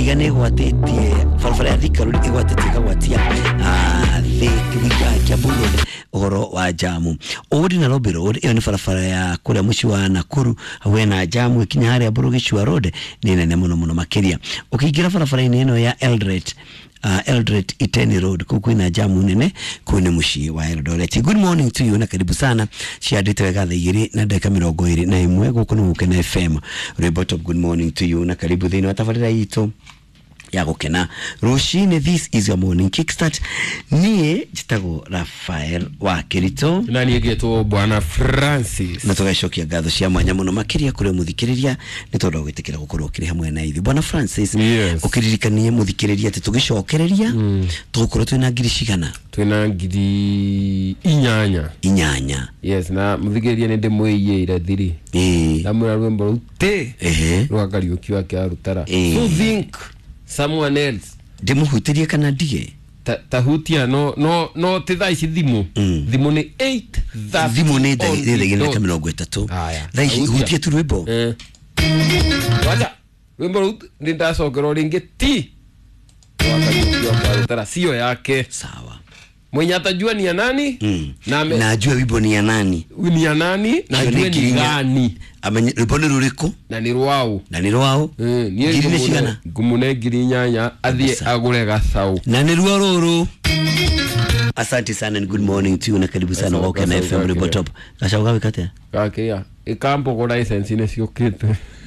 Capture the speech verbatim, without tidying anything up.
Muthaiga nĩ ĩgwatĩtie barabara ya Thika Road ĩgwatĩtie ĩkagwatia Thika Kiambu Road ũhoro wa jamu. Old Nairobi Road ĩyo nĩ barabara ya kũrĩa mũciĩ wa Nakuru hau hena jamu ĩkinya harĩa Mbũrũ Road nĩ nene mũno mũno makĩria. Ũkĩingĩra barabara-inĩ ĩno ya Eldoret, uh, Eldoret Iten Road kũu kwĩna jamu nene, kũu nĩ mũciĩ wa Eldoret. Good morning to you na karibu sana. Ciandĩte wega thaa igĩrĩ na ndagĩka mĩrongo ĩrĩ na ĩmwe gũkũ nĩ Gũkena F M. Rwĩmbo top. Good morning to you na karibu thĩinĩ wa tabarĩra itũ ya gũkena rũcinĩ. This is your morning kickstart. Niĩ njĩtagwo Rafael wa Kirito na niĩ ngĩtwo Bwana Francis, na tũgacokia ngatho cia mwanya mũno makĩria kũrĩ mũthikĩrĩria nĩ tondũ wa gwĩtĩkĩra gũkorwo ũkĩrĩ hamwe na ithuĩ. Bwana Francis, Yes. ũkĩririkanie mũthikĩrĩria atĩ tũgĩcokereria mm. tũgũkorwo twĩna ngiri cigana? Twĩna ngiri inyanya. Inyanya. Yes, na mũthikĩrĩria nĩ ndĩmwĩiyĩire thiri. Ĩĩ. Ndamwĩra rwĩmbo rũu tĩ Ehe. rwa Kariũki wake arutara. Ĩĩ. So think someone else. Ndĩmũhutĩrie kana ndige? Ta tahutia no no no ti thaa ici thimũ. Mm. Thimũ nĩ eight thirty. Thimũ nĩ on the thaa igĩrĩ na dot. mĩrongo ĩtatũ. Haya. Thaa ici Hutia. hutie tu rwĩmbo. Eh. Wacha rwĩmbo rũu nĩ ndacokerwo rĩngĩ ti rwa Kariũki wake arutara sio yake. Sawa. Mwenye atajua ni ya nani Mm. na ame, na ajue wimbo ni ya nani. Ni ya nani na Hiyo ajue ngiri ni inya. gani. Amenye rwĩmbo nĩ rũrĩkũ na nĩ rwao. Na nĩ rwao. Eh, niĩ Ngiri nĩ ngũmũne- cigana? ngũmũne ngiri inyanya athiĩ Kabisa. agũre gacaũ. Na nĩ ruo rũrũ. Asante sana and good morning to you na karibu sana Gacaũ- Gũkena gacaũ F M. gakĩrĩa. Rwĩmbo top. Gacaũ gawĩka atĩa? Gakĩria ĩkambũgũ license nĩ ciũkĩte.